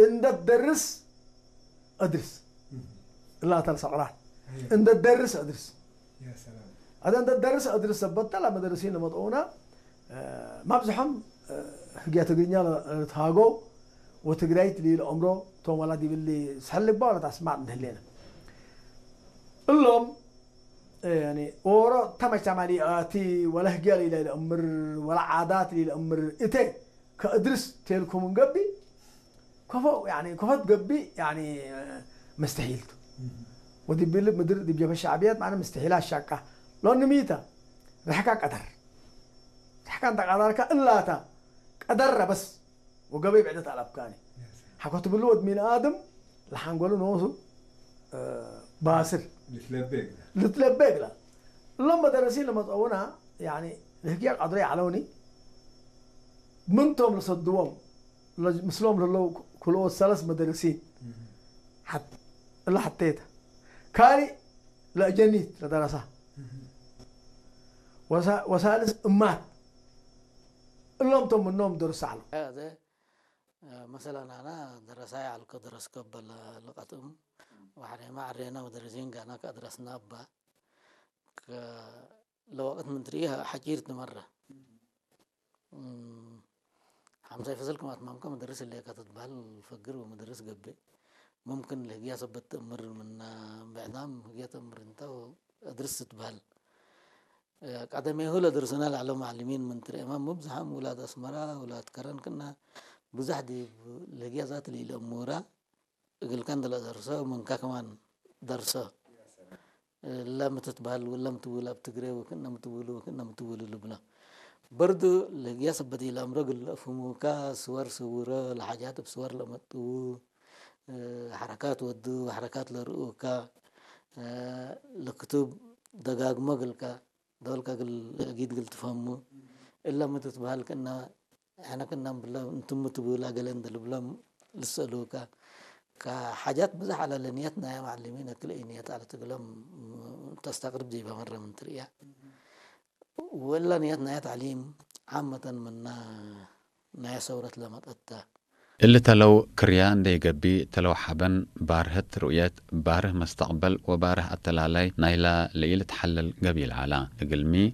እንደ ደርስ እድርስ እላታ ሰቕራት እንደ ደርስ እድርስ ኣደ እንደ ደርስ እድርስ ሰበተ ለመደረሲን ለመጠውና ማብዝሖም ህግያ ትግርኛ ለተሃጎ ወትግራይት ሊል ኦምሮ ቶም ዋላ ዲብል ሰሕልባ ዋላ ታስማዕ እንድህሌና እሎም ወሮ ተመቻማሊ ኣቲ ወላ ህግያ ሊለ ይለእምር ወላ ዓዳት ሊለእምር እተ ከእድርስ ቴልኩም እንገቢ ከፎ ከፎት ገቢ መስተሒልቱ ወዲ ቢል ምድር ዲብ ጀበ ሻዕብያት ማነ መስተሒላ ሻቃ ሎኒ ሚታ ርሕካ ቀደር ርሕካ እንተ ቀዳርካ እላታ ቀደረ በስ ወገበይ ብዕደት ኣለብካኒ ሓኮ ትብሉ ወድ ሚን ኣድም ለሓንጎሉ ንወሱ ባስል ልትለቤ ግላ እሎም መደረሲ ለመፀውና ንህግያ ቀድሮ ይዓለውኒ ምንቶም ለሰድዎም ምስሎም ለለው ክልኦት ሰለስ መደረሲን እላ ሓተይታ ካሊእ ለእጀኒት ለደረሳ ወሳልስ እማት እሎም ቶም ምኖም ደርሱ ዓሉ مثلا أنا درساي على القدرس قبل لقطم وحريما عرينا ودرسين كان كدرسنا أبا لوقت من تريها حجيرت مرة ሓምሳይ ፈሰል ከም ኣትማምካ መደርስ እለካ ትትበሃል ፈግር ወመደርስ ገብእ ሙምክን ለህግያ ሰበት ተእምር ምና ብዕዳም ህግያ ተእምር እንታ እድርስ ትትበሃል ቀደሜሁ ለደርሱና ለዓለ መዓልሚን ምን ትርእማ ሙብዝሓም ውላድ ኣስመራ ውላድ ከረን ክና ብዙሕ ዲብ ለህግያ ዛት ልኢለ እሙራ እግልካ እንደለ ደርሶ ምንካ ከማን ደርሶ ለም ትትበሃል ለም ትብል ኣብ ትግሬ ወክእነ ምትብሉ ወክእነ ምትብሉ ልብሎ በርዱ ለህግያ ሰበት ኢለ ኣምሮ ግል ለእፍሙካ ስወር ስውሮ ለሓጃት ብስወር ለመጥው ሓረካት ወዱ ሓረካት ለርእኡካ ለክቱብ ደጋግሞ ግልካ ዶልካ ግል ጊድ ግል ትፈሙ እላ ምትትበሃል ክእና ሕነ ክናም ብሎም እንትሙ ትብላ ገለ እንድልብሎም ልሰእሉካ ከሓጃት ብዙሕ ኣለ ለንየት ናያ ማዓልሚን ክልእይ ንየት ኣለ ትግሎም ተስተቅርብ ዘይባ መረ ምን ትርእያ ወላ ንየት ናያ ታዕሊም ዓመተን ምና ናያ ሰውረት ለመጠታ እሊ ተለው ክርያ እንደይገቢ ተለው ሓበን ባርህት ርኡየት ባርህ መስተቅበል ወባርህ ኣተላላይ ናይላ ለኢልትሓለል ገቢል ዓላ እግልሚ